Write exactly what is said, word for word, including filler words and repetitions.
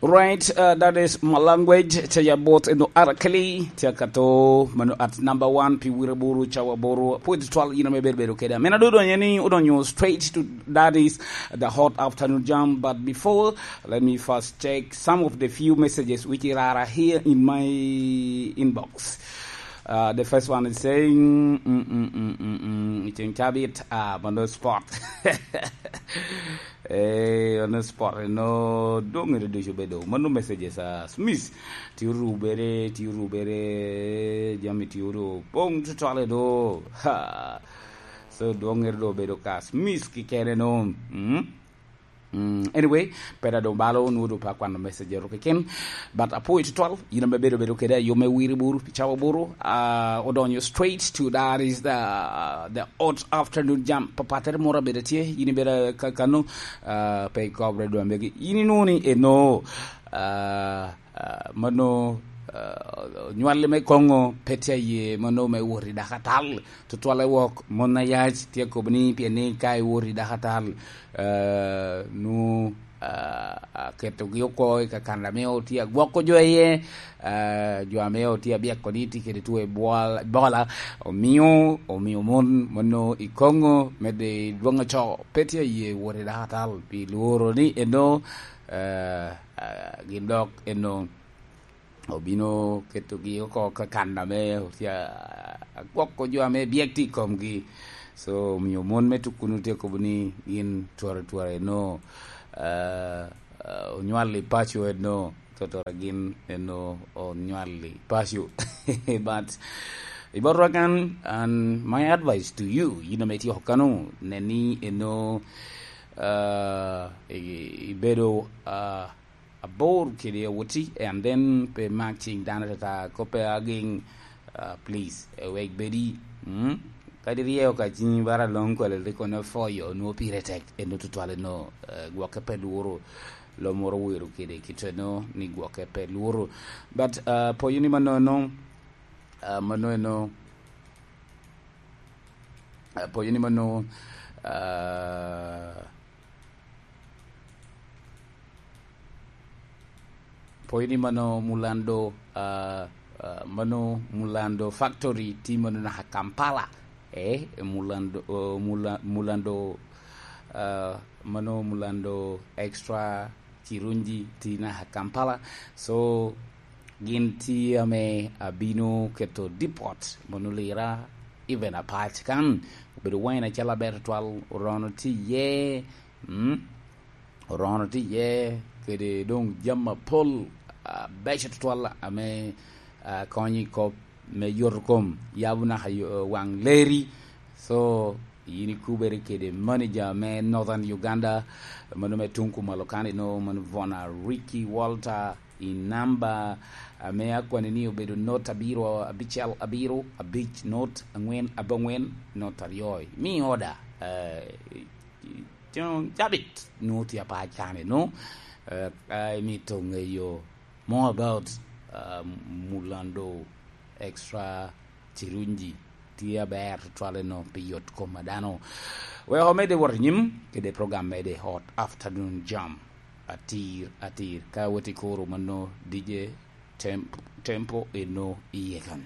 Right, uh, that is my language. Tye ya bot eno arakeli, tye ka to, mano at number one, pi wira buru, cawa buru, pwede twal yina me bedo bedo keda. Mena do donye ni, udonyo straight to, that is the hot afternoon jam. But before, let me first check some of the few messages which are here in my inbox. Uh, the first one is saying, mm, mm, mm, mm, mm, it's in Chabit, uh, on the spot. Eh, on the spot, no, dong ere ducu bedo. Mano messages, uh, Smith, ti orubere, ti orubere, jami ti oru, pong tutwale do. Ha. So, dong ere do bedo ka Smith kikene no. Mm? Mm, anyway, pera do balo, nu do pa kwano message ero keken. But apoyo tutwal, yina me bedo bedo kede, yo me wiri buru, pi cawa buru, uh, odonyo straight to that is the, the hot afternoon jam. Papatere mora bedo tye, yini bedo ka-, kano, uh, pe kobre do ambegi. Yini nuni eno, uh, uh, mano, uh, nywali me kongo, pe tye ye, mano me wori dakatal. Tutwale wok, mon ayac, tye kobo ni, pien ni ka iwori dakatal, eh, nu, ah, aketogi oko i kakanda ame otye agwoko jo iye, eh, jo ame otye abyeko ni tye kede two Ebola, omio, omio mon, mon no i Kongo, medde i dwoŋ oco, pe tye aye wot i dakatal, pi lworo ni eno, eh, eh, gin dok eno, obino ketogi oko kakanda me otye agwoko jo ame byek tye i komgi. So, omio mon me tukuno tye kobo ni gin twara twara eno, ah, ah, onywal i paco eno, twatwara gin eno onywal i paco. But, i bot rakan, and my advice to you, yin ame itye oko kano, nen ni eno, ah, i-, ibedo, ah, abor kede awoti, and then pe mak cing dano tata, koppe aging, ah, please, eh, wek bedi, mm? Kadi ryeo ka cing bara long kwele liko ne foyo, nwo pire tek, eno tutwale no, eh, gwokke pe lworo, lo moro wero kede kite no, ni gwokke pe lworo. But, ah, poyo ni mano no, ah, mano eno, ah, poyo ni mano, ah, Pwony ni mano Mulando, ah, ah, mano Mulando Factory tye mano naka Kampala. Eh, Mulando, oh, Mula-, Mulando, ah, mano Mulando Extra Kirungi tye naka Kampala. So, gin tye ame abino keto depot, mano Lira, even Apac kan, obedo wine acalo aber tutwal, Orono tye iye, mm? Orono tye iye, kede doŋ jami apol, ah, beco tutwal ame, ah, konyo i kop me yoto kom, yabo naka yo-, waŋ leri. So, yin ikubere kede manager me Northern Uganda, mano me tuŋ kumalo kan eno, mano Bona Ricky Walter, i namba ame akwane ni obedo not abiro abicel abiro abic not aŋwen abongwen not aryo. Mi order, eh, Cabit, nwoŋo tye apac kan eno, eh, ka imito ŋeyo more about, ah, Mulando Extra Kirungi, tye aber tutwal eno pi yot kom a dano. Wek omedde wot i nyim kede program mede Hot Afternoon Jam. Atir, atir, ka wot i koro mano D J Tem-, Tempo eno iye kan.